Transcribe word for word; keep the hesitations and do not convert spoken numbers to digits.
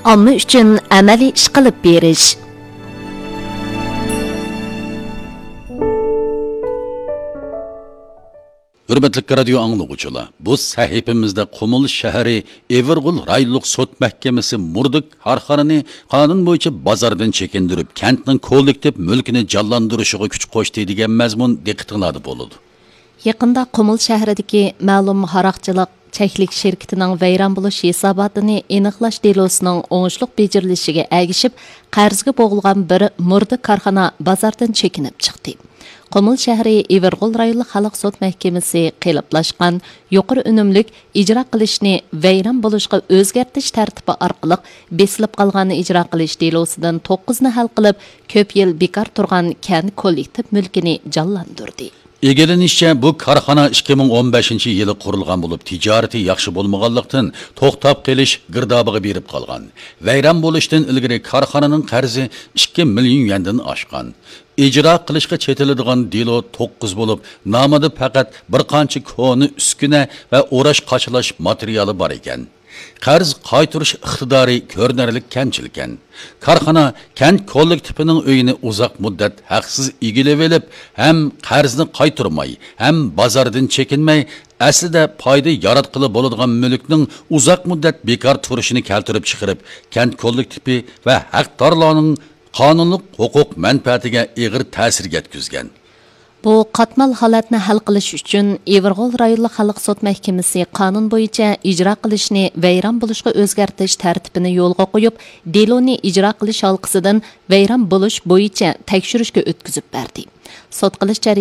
ئامما ئۈچۈن ئەمەلىي ئىش قىلىپ بېرىش. ھۆرمەتلىك رادىيو ئاڭلىغۇچىلار، بۇ سەھىپىمىزدە قۇمۇل شەھىرى ئېۋىرغول رايونلۇق سوت مەھكىمىسى مۇردا كارخانىنى قانۇن بويىچە بازاردىن چېكىندۈرۈپ، كەنتنىڭ كوللېكتىپ مۈلكىنى جانلاندۇرۇشىغا كۈچ قوشتى دېگەن مەزمۇن دىققىتىڭلاردا بولىدۇ. يېقىندا قۇمۇل شەھىرىدىكى مەلۇم ھاراقچىلىق چەكلىك شىركىتىنىڭ ۋەيران بولۇش ھېساباتىنى ئېنىقلاش دېلوسىنىڭ ئوڭۇشلۇق بېجىرىلىشىگە ئەگىشىپ، قەرزگە بوغۇلغان بىر مۇردا كارخانا بازاردىن چېكىنىپ چىقتى. قۇمۇل شەھىرى ئېۋىرغول رايونلۇق خەلق سوت مەھكىمىسى قېلىپلاشقان يۇقىرى ئۈنۈملۈك ئىجرا قىلىشنى ۋەيران بولۇشقا ئۆزگەرتىش تەرتىپى ئارقىلىق بېسىلىپ قالغان ئىجرا قىلىش دېلوسىدىن توققۇزنى ھەل قىلىپ، كۆپ يىل بىكار تۇرغان كەنت كوللېكتىپ مۈلكىنى جانلاندۇردى. ئىگىلىنىشىچە، بۇ كارخانا ئىككى مىڭ ئون بەشىنچى يىلى قۇرۇلغان بولۇپ، تىجارىتى ياخشى بولمىغانلىقتىن، توختاپ قېلىش گىردابىغا بېرىپ قالغان. ۋەيران بولۇشتىن ئىلگىرى كارخانىنىڭ قەرزى ئىككى مىليون يۈەندىن ئاشقان. ئىجرا قىلىشقا چېتىلىدىغان دېلو توققۇز بولۇپ، نامىدا پەقەت بىر قانچە كونا ئۈسكۈنە ۋە ئوراش قاچىلاش ماتېرىيالى بار ئىكەن. قەرز قايتۇرۇش ئىقتىدارى كۆرۈنەرلىك كەمچىلكەن. كارخانا كەنت كوللېكتىپىنىڭ ئۆيىنى ئۇزاق مۇددەت ھەقسىز ئىگىلىۋېلىپ، ھەم قەرزنى قايتۇرماي، ھەم بازاردىن چېكىنمەي، ئەسلىدە پايدا ياراتقىلى بولىدىغان مۈلۈكنىڭ ئۇزاق مۇددەت بىكار تۇرۇشىنى كەلتۈرۈپ چىقىرىپ، كەنت كوللېكتىپى ۋە ھەقدارلارنىڭ قانۇنلۇق ھوقۇق مەنپەئەتىگە ئېغىر تەسىر يەتكۈزگەن. بۇ قاتمال ھالەتنى ھەل قىلىش ئۈچۈن، ئېۋىرغول رايونلۇق خەلق سوت مەھكىمىسى قانۇن بويىچە ئىجرا قىلىشنى ۋەيران بولۇشقا ئۆزگەرتىش تەرتىپىنى يولغا قويۇپ، دېلونى ئىجرا قىلىش ھالقىسىدىن ۋەيران بولۇش بويىچە تەكشۈرۈشكە ئۆتكۈزۈپ بەردى. سوت قىلىش جەريانىدا